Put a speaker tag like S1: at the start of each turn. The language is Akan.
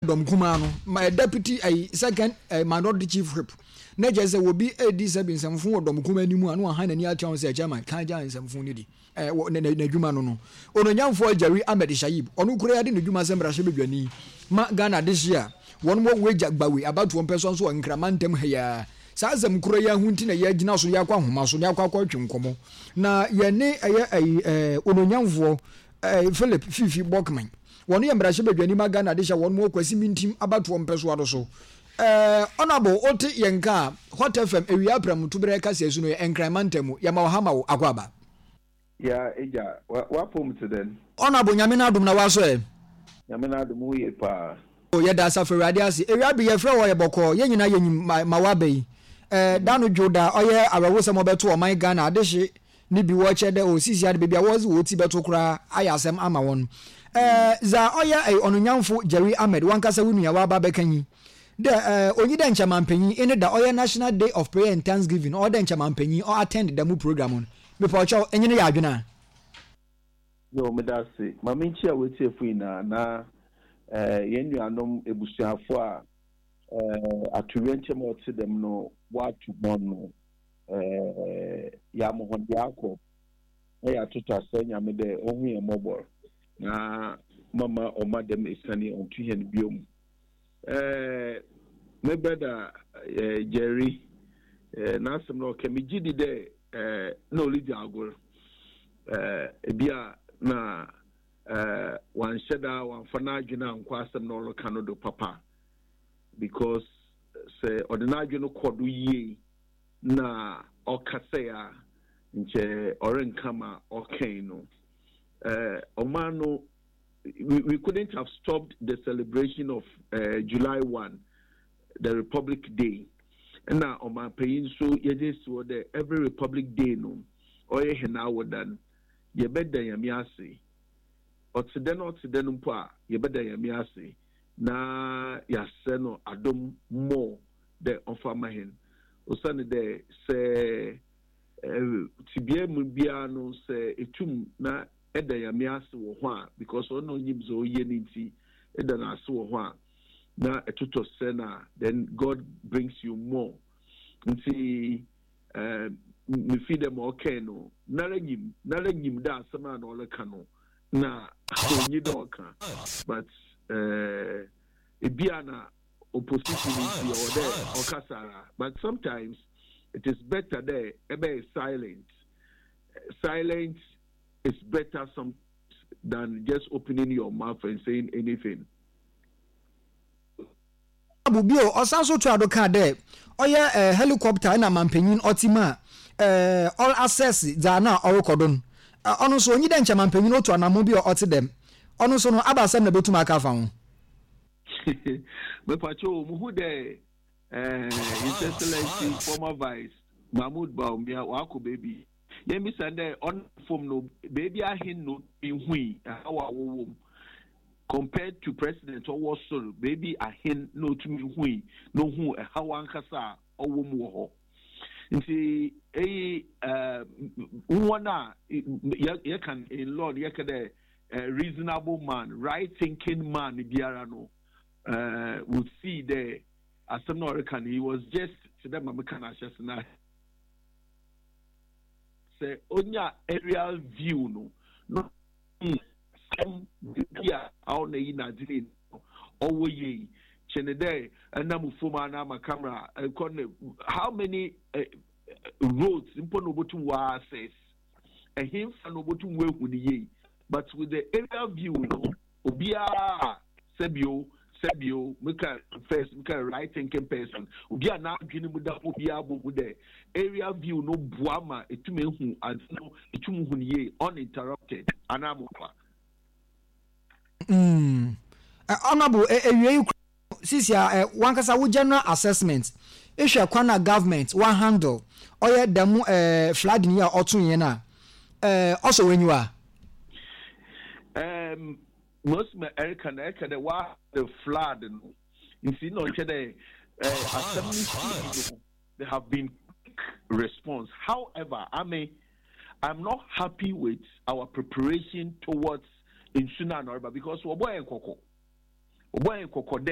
S1: Dɔm kumaa no ma deputy ɛyi second ɛyi minority chief whip na kyerɛ sɛ obi redi sɛbi nsɛmfo wɔ dɔm kumaa anim a na wahan n'ani atua ho sɛ chairman kan gya nsɛmfo no di ɛɛ wɔ n'adwuma no no. Ononyamfoɔ Jerry Ahmed Shaib ɔno kura ade ne dwuma sɛ mmarahyɛbadwani ma Ghana adehye a wɔn wɔ Weija Gbawe abatoɔ mpɛsoa nso wɔ Nkran mantam ha yi ara. Saa asɛm koro yi ara ho nti na yɛagyina so yɛakɔ ahoma so na yɛakɔ akɔtwe nkɔmmɔ na yɛne ɛyɛ ɛyi ɛɛ ononyamfoɔ ɛɛ Philip Fifi Bokman. Wɔn yɛ mmarahyɛbadwani ma Ghana de hyɛ wɔn wɔ Kwasi Mintim abatoɔ mpɛsoa no so. Eh, Honourable, wote yɛn nka a, Hot FM, Awia Aprɛm Toberɛ kaseɛ su no yɛ Nkran mantam mu. Yɛma wo ha ma wo akwaaba.
S2: Ya agya, w'apom te dɛn?
S1: Honourable, Nyame n'adom na w'asɔ ɛ?
S2: Nyame n'adom, wo ye paa.
S1: Oh, yɛda Asafo Awurade ase. Awia bi yɛfrɛ wo ɔyɛ bɔkɔɔ, yɛn nyinaa yɛnyim ma w'aba yi. Eh, da no dwo da, ɔyɛ awerɛhosɛm ɔbɛto ɔman Ghana adehye ne bi wɔkyerɛ dɛ osisi ade beebi a wɔdze hɔn tsir bɛto koraa ayɛ asɛm ama hɔn. Ɛɛ, dza ɔyɛ Ɔnonyamfo Jerry Ahmed wankasa wo nua ɔaba abɛka nyi, dɛ ɛɛ, onnyi dɛ nkyɛ mampanyin ene da ɔyɛ National Day of Prayer and Thanksgiving ɔwɔ dɛ nkyɛ mampanyin ɔ attend dɛm program no. Mepɔkyɛw, enye no yɛ adwen a?
S2: Yo, meda ase. Ma minkyia w'atiefo nyinaa na yɛn nuanom ebusuafo a atoyerɛnkyɛm a ɔtse dɛm no wɔato hɔn no. Yɛama hɔn yɛakɔ na yɛatoto asrɛ Nyame dɛ Ɔnhu hɛn mbɔbɔr na mama Ɔmma dɛm esian yi ɔnnto hɛn bio. Me brɛda Jerry, n'asɛm no ɔkã, megye di dɛ nna oridzi agor. Bi a nna ɔannhyɛ da ɔammfa n'adwen annkɔ asɛm no a ɔrekã no do papa because sɛ ɔdze n'adwen kɔ do yie na ɔkasae a, nkyɛ ɔrennka ma ɔkãe no. Ɔman no, we, we couldn't have stopped the celebration of July 1, the Republic Day. Nna ɔmanpanyin so yɛdze esi hɔ dɛ every Republic Day no, ɔyɛ hɛn awoda no, yɛbɛda Nyame ase. Ɔtse dɛn ɔtse dɛn mpo a, yɛbɛda Nyame ase na yɛaserɛ no adom more. Dɛ ɔmfa mma hɛn. Osiandɛ sɛ tsebea mu biara no sɛ etum na eda Nyame ase wɔ ho a, because ɔno na onyim dza oye no ntsi, eda no ase wɔ ho a, na etotɔ serɛ no a, then God brings you more. Ntsi mifii dɛ ma ɔkãe no, noara nyim, noara nyim dɛ asɛm a na ɔrekã no na onnyi dɛ ɔkã, but bi a na opposition nti ɔwɔ dɛ ɔkasa ara but sometimes it is better dɛ ɛbɛyɛ silent. Silent is better sometimes than just opening your mouth and saying anything.
S1: Abu bio, ɔsan so toaa do kaa dɛ ɔyɛ helicopter na mampanyin ɔtse mu a ɔr assess dza nna ɔrokɔ do no. Ɔno so onnyi dɛ nkyɛ mampanyin otu anamɔn bi a ɔtse dɛm. Ɔno so no, aba asɛm na botum aka afa ho?
S2: Mepakyɛw o, muhu dɛ His Excellency former Vice Mahmood Bawumia ɔakɔ beebi. Yɛmbisa no dɛ ɔnam famu no beebi ahen na otumii hui haw a wɔwɔ mu compared to President ɔwɔ sor, beebi ahen na otumii hui na ohun haw ankasa a ɔwɔ mu wɔ hɔ. Ntsi eyi hɔn a yɛka no in law no yɛka dɛ reasonable man, right thinking man biara no would see dɛ asɛm no a ɔreka no he was just tse dɛ ma meka no ahyɛse no sɛ onya aerial view no na ohu asɛm beebi a ɔna yi n'adze ne no ɔwɔ yie kyɛn dɛ ɛnam famu anaa ma camera ɛkɔ ne how many roads mpo na obotum wɔ access. Ɛhenfa na obotum woehu no yie? But with the aerial view no, obiara a sɛbio sɛbio meka first meka right thinking person, obi a n'adwene mu da hɔ biara bohu dɛ aerial view no boa ma etum ehu adze no, etum hu no yie uninterrupted, anaa moboa?
S1: Mm. Honourable, ewiei Sisi a eh wankasa wo general assessment ehwɛ kwan a government wa handle ɔyɛ dɛm eh flooding yi a ɔto yɛn a eh ɔsɔ w'enyiwa?
S2: Um, most ma ɛreka no ɛka dɛ wa the flood no nti na ɔkyɛ dɛ eh, asɛm no sii no there have been quick response. However, I mean, I'm not happy with our preparation towards nsu no a na ɔreba because wɔbɔ yɛn kɔkɔ. Wɔbɔ hɛn kɔkɔ dɛ.